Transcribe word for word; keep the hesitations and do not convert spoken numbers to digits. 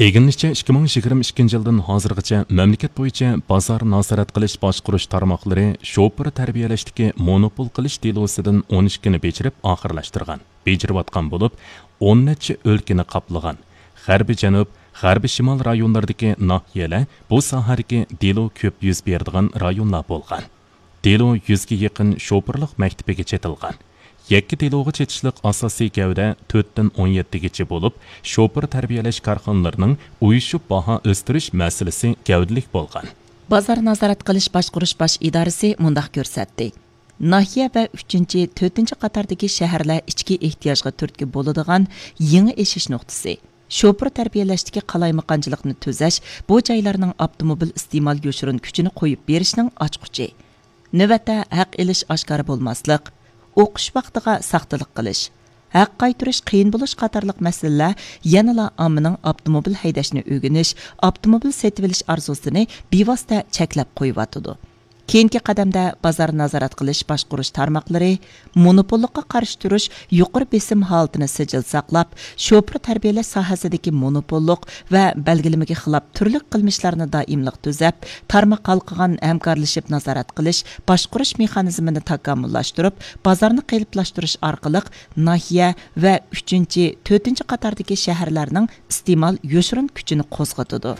ئىگىلىنىشىچە، ئىككى مىڭ يىگىرمە ئىككىنچى يىلدىن ھازىرغىچە مەملىكەت بويىچە بازار نازارەت قىلىش باشقۇرۇش تارماقلىرى شوپۇر تەربىيەلەشتىكى مونوپول قىلىش دېلوسىدىن ئون ئىككىنى بېجىرىپ ئاخىرلاشتۇرغان، بېجىرىۋاتقان بولۇپ، ئون نەچچە ئۆلكىنى قاپلىغان. غەربىي جەنۇب، غەربىي شىمال رايونلىرىدىكى ناھىيەلەر بۇ ساھەدىكى دېلو كۆپ يۈز بېرىدىغان رايونلار بولغان. دېلو يۈزگە يېقىن شوپۇرلۇق مەكتىپىگە چېتىلغان. يەككە دېلوغا چېتىشلىق ئاساسىي گەۋدە تۆتتىن ئون يەتتىگىچە بولۇپ، شوپۇر تەربىيەلەش كارخانىلىرىنىڭ ئۇيۇشۇپ باھا ئۆستۈرۈش مەسىلىسى گەۋدىلىك بولغان. بازار نازارەت قىلىش باشقۇرۇش باش ئىدارىسى مۇنداق كۆرسەتتى. ناھىيە ۋە ئۈچىنچى، تۆتىنچى قاتاردىكى شەھەرلەر ئىچكى ئېھتىياجغا تۈرتكە بولىدىغان يېڭى ئېشىش نۇقتىسى، شوپۇر تەربىيەلەشتىكى قالايمىقانچىلىقنى تۈزەش، بۇ جايلارنىڭ ئاپتوموبىل ئىستېمال يوشۇرۇن كۈچىنى قويۇپ بېرىشنىڭ ئاچقۇچى. نۆۋەتتە ھەق ئېلىش ئاشكارا بولماسلىق، ئوقۇش ۋاقتىغا ساختىلىق قىلىش، ھەق قايتۇرۇش قىيىن بولۇش قاتارلىق مەسىلىلەر يەنىلا ئاممىنىڭ ئاپتوموبىل ھەيدەشنى ئۆگىنىش، ئاپتوموبىل سېتىۋېلىش ئارزۇسىنى بىۋاسىتە چەكلەپ قويۇۋاتىدۇ. كېيىنكى قەدەمدە بازار نازارەت قىلىش باشقۇرۇش تارماقلىرى مونوپوللۇققا قارشى تۇرۇش يۇقىرى بېسىم ھالىتىنى سىجىل ساقلاپ، شوپۇر تەربىيەلەش ساھەسىدىكى مونوپوللۇق ۋە بەلگىلىمىگە خىلاپ تۈرلۈك قىلمىشلارنى دائىملىق تۈزەپ، تارماق ھالقىغان ھەمكارلىشىپ نازارەت قىلىش، باشقۇرۇش مېخانىزمىنى تاكامۇللاشتۇرۇپ، بازارنى قېلىپلاشتۇرۇش ئارقىلىق ناھىيە ۋە ئۈچىنچى، تۆتىنچى قاتاردىكى شەھەرلەرنىڭ ئىستېمال يوشۇرۇن كۈچىنى قوزغىتىدۇ.